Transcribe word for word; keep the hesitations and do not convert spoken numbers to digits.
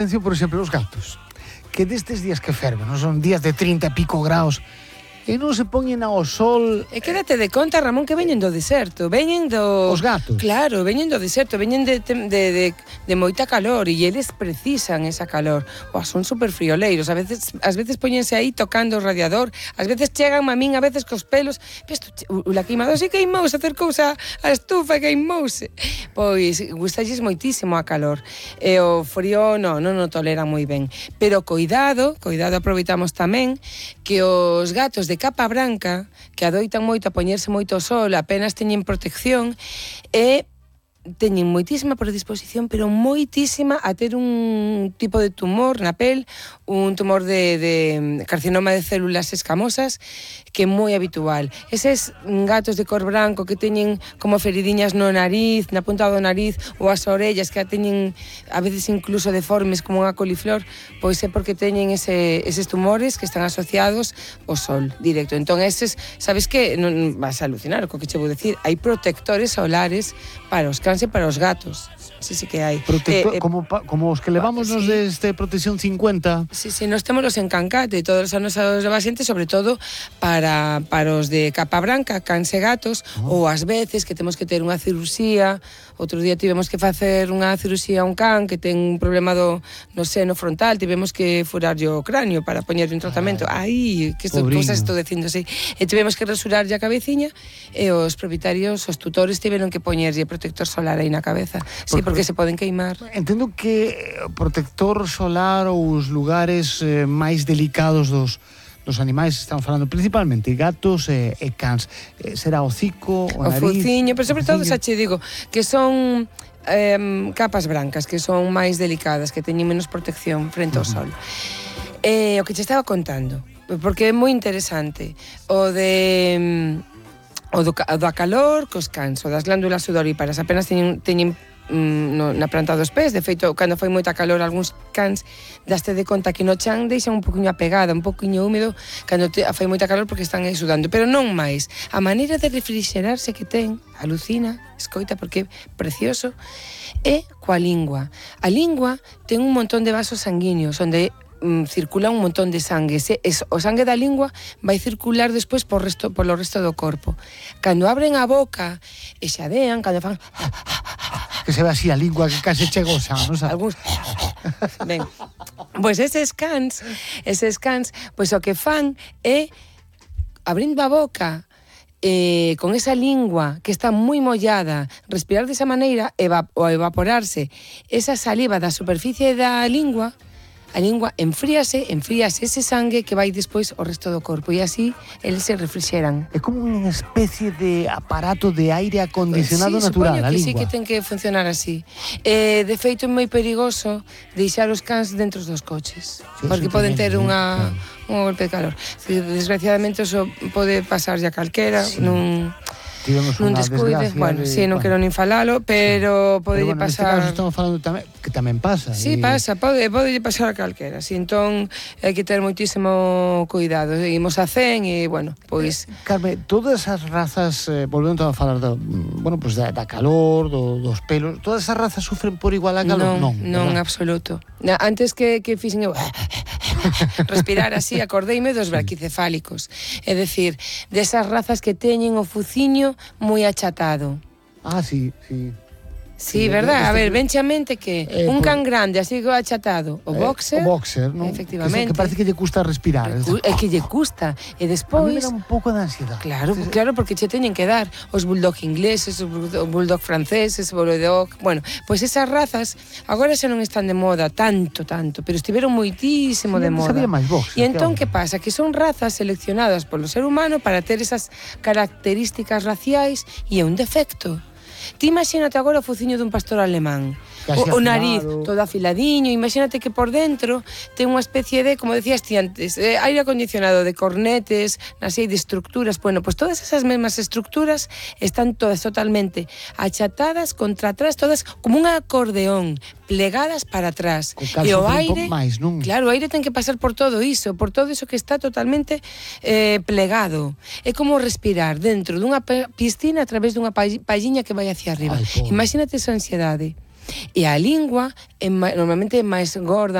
Atención, por exemplo, os gatos, que destes días que ferven, non son días de trinta e pico graus, e non se poñen ao sol. E quédate de conta, Ramón, que veñen do deserto, veñen do... Os gatos. Claro, veñen do deserto, veñen de, de, de, de moita calor, e eles precisan esa calor. Boa, son super frioleiros, a veces, ás veces poñense aí tocando o radiador, ás veces chegan a min, a veces cos pelos, ves, o la queimador se queimouse, acercouse a, a estufa e queimouse. Pois, gustalles moitísimo a calor. E o frío, non, non o toleran moi ben. Pero coidado, coidado, aproveitamos tamén, que os gatos de capa branca, que adoitan moito a poñerse moito ao sol, apenas teñen protección, e teñen moitísima predisposición, pero moitísima a ter un tipo de tumor na pel, un tumor de, de carcinoma de células escamosas, que é moi habitual. Eses gatos de cor branco que teñen como feridiñas no nariz, na punta do nariz, ou as orellas que a teñen a veces incluso deformes como unha coliflor, pois é porque teñen ese, eses tumores que están asociados ao sol directo. Entón, eses, sabes que, non vas a alucinar co que che vou decir, hai protectores solares para os cans e para os gatos. Sí, sí que hai. Protector, eh, eh, como, como os que levamos nos sí. deste Protección cincuenta. Sí, sí, nós temos en Cancate e todos os anos aos pacientes, sobre todo para, para os de capa branca, cans e gatos, oh. ou ás veces que temos que ter unha cirurxía. Outro día tivemos que facer unha cirurxía a un can que ten un problema do, no seno frontal, tivemos que furarlle o cráneo para poñerlle un tratamento. Ai, que isto, cousas estou dicindo así. E tivemos que rasurarlle a cabeciña e os propietarios, os tutores, tiveron que poñerlle protector solar aí na cabeza. Sí, porque se poden queimar. Entendo que o protector solar ou os lugares eh, máis delicados dos dos animais, estamos falando principalmente gatos e, e cans, eh, será o hocico, o, o nariz, fociño, pero sobre todo xa che digo que son eh, capas brancas, que son máis delicadas, que teñen menos protección frente ao sol. Eh, o que che estaba contando, porque é moi interesante, o de o do, o do calor cos cans, o das glándulas sudoríparas, apenas teñen, teñen no, na planta dos pés. De feito, cando foi moita calor, algúns cans daste de conta que no chan deixan un poquinho apegada, un poquinho húmedo cando te, foi moita calor porque están aí sudando, pero non máis. A maneira de refrixerarse que ten, alucina, escoita, porque é precioso, é coa lingua. A lingua ten un montón de vasos sanguíneos onde circula un montón de sangue. Se, es, o sangue da lingua vai circular despois por resto, polo resto do corpo. Cando abren a boca e xadean, cando fan... Que se ve así a lingua que case chegosa, non sabes? Algúns... Ben, pois eses cans, eses cans, pois o que fan é abrindo a boca Eh, con esa lingua que está moi mollada, respirar desa maneira eva, ou evaporarse esa saliva da superficie da lingua, a lingua enfríase, enfríase ese sangue que vai despois ao resto do corpo e así eles se refrixeran. É como unha especie de aparato de aire acondicionado sí, natural, a que lingua. Sí, que ten que funcionar así. Eh, de feito é moi perigoso deixar os cans dentro dos coches, sí, porque poden ter unha, claro. un golpe de calor. Desgraciadamente eso pode pasar a calquera, sí. nun... Tivemos nun descuide, bueno, si, sí, non quero nin falalo, pero sí. pode bueno, pasar... Neste caso estamos falando tamén, que tamén pasa. Sí, e... pasa, pode, pode pasar a calquera, si, entón hai que ter moitísimo cuidado. Seguimos a cen e, bueno, pois... Eh, Carme, todas as razas, eh, volvendo a falar do, bueno, pues da, da calor, do, dos pelos, todas as razas sufren por igual a calor? Non, non, non, absoluto. Antes que, que fixen eu... respirar así, acordeime dos braquicefálicos, é dicir, desas razas que teñen o fuciño moi achatado. Ah, sí, sí. Sí, sí, verdad? A ver, venche a mente que eh, un can grande, así que achatado, o boxer... Eh, o boxer, non? Efectivamente. Que, que parece que lle custa respirar. É que lle custa. E despois... A mí me dá un pouco de ansiedade. Claro, sí, claro, porque che teñen que dar os bulldog ingleses, os bulldog franceses, o bulldog... Bueno, pois esas razas agora xa non están de moda tanto, tanto, pero estiveron moitísimo sí, de moda. Sabía máis boxer. E entón, que pasa? Que son razas seleccionadas polo ser humano para ter esas características raciais e é un defecto. Ti imagínate agora o fociño dun pastor alemán, o, o nariz todo afiladiño, imagínate que por dentro ten unha especie de, como decías ti antes, eh, aire acondicionado de cornetes, así de estructuras. Bueno, pues todas esas mesmas estructuras están todas totalmente achatadas contra atrás, todas como un acordeón, plegadas para atrás. E o aire, máis, non? Claro, o aire ten que pasar por todo iso, por todo iso que está totalmente eh, plegado. É como respirar dentro dunha piscina a través dunha palliña que vai hacia arriba. Ay, imagínate esa ansiedade. E a lingua é, normalmente é máis gorda,